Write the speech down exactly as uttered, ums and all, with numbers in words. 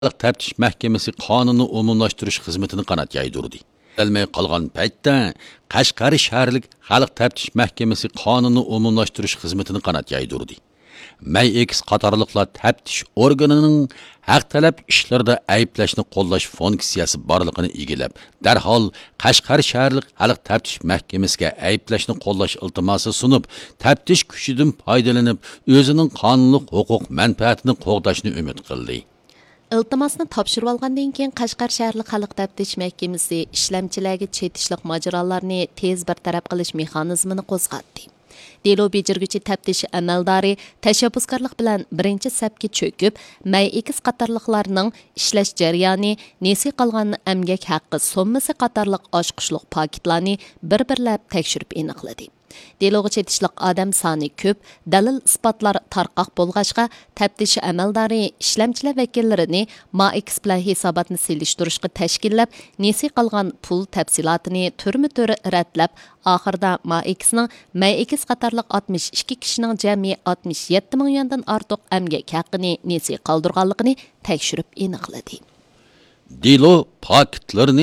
خەلق تەپتىش مەھكىمىسى قانۇننى ئومۇملاشتۇرۇش خىزمىتىنى قانات يايدۇردى. ئەلمەي قالغان پەيتتە، قەشقەر شەھەرلىك خەلق تەپتىش مەھكىمىسى قانۇننى ئومۇملاشتۇرۇش خىزمىتىنى قانات يايدۇردى. مەي ئېكىس قاتارلىقلار تەپتىش ئورگىنىنىڭ ھەق تەلەپ ئىشلىرىدا ئەيىبلەشنى قوللاش فۇنكسىيەسى بارلىقىنى ئىگىلەپ، دەرھال قەشقەر شەھەرلىك خەلق تەپتىش مەھكىمىسىگە ئەيىبلەشنى قوللاش ئىلتىماسى سۇنۇپ، تەپتىش كۈچىدىن پايدىلىنىپ، ئۆزىنىڭ قانۇنلۇق ھوقۇق مەنپەئەتىنى قوغداشنى ئۈمىد قىلدى. ئىلتىماسنى تاپشۇرۇۋالغاندىن كېيىن، قەشقەر شەھەرلىك خەلق تەپتىش مەھكىمىسى ئىشلەمچىلەرگە چېتىشلىق ماجىرالارنى تېز بىر تەرەپ قىلىش مېخانىزمىنى قوزغاتتى. دېلو بېجىرگۈچى تەپتىش ئەمەلدارى تەشەببۇسكارلىق بىلەن بىرىنچى سەپكە چۆكۈپ، مەي ئېكىس قاتارلىقلارنىڭ ئىشلەش جەريانى، نېسى قالغان ئەمگەك ھەققى سوممىسى قاتارلىق ئاچقۇچلۇق پاكىتلارنى بىر-بىرلەپ تەكشۈرۈپ ئېنىقلىدى. دېلوغا چېتىشلىق ئادەم سانى كۆپ، دەلىل-ئىسپاتلار تارقاق بولغاچقا، تەپتىش ئەمەلدارى ئىشلەمچىلەر ۋەكىللىرىنى مائېكس بىلەن ھېساباتنى سېلىشتۇرۇشقا تەشكىللەپ، نېسى قالغان پۇل تەپسىلاتىنى تۈرمە-تۈر رەتلەپ، ئاخىرىدا مائېكسنىڭ مەيئېكس قاتارلىق ئاتمىش ئىككى كىشىنىڭ جەمئىي ئاتمىش يەتتە مىڭ يۈەندىن ئارتۇق ئەمگەك ھەققىنى نېسى قالدۇرغانلىقىنى تەكشۈرۈپ ئېنىقلىدى. دېلو پاكىتلىرىنى